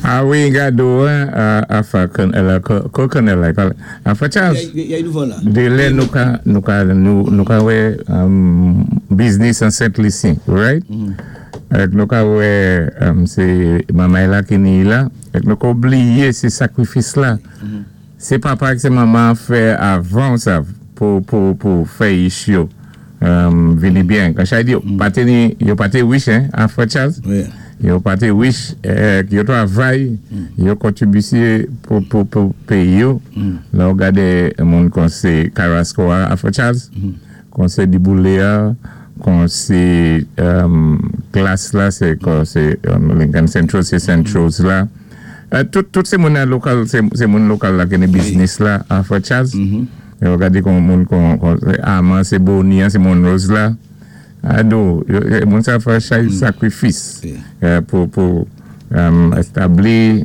A wi, gado, afa, kokonel, afa Charles. Yay nouvan la. Dé lè nou ka wè business an Sent Lisi, right? Èk nou ka wè sé manmay la ki ni la, èk nou ka oubliyé sé sakrifis la. Sé papa ak sé manman fè avan sa pou fè ich yo vini byen. Kan chay di yo pa té ni, yo pa té wich, hein, afa Charles? Wi. Yo pa té wich, yo twavay, yo kontribisyé pou péyi yo. La ou gadé moun kon sé Carrasco a, afa Charles, kon sé Diboulé a, kon sé Glass la, sé kon sé Lincoln Central, sé Centrals la. Tout sé moun an lokal, sé moun lokal la ki ni business la, afa Charles. Yo gadé kon moun kon Aman, sé Boni, sé Monrose la. Ado, moun sa fè chay sakrifis pou establi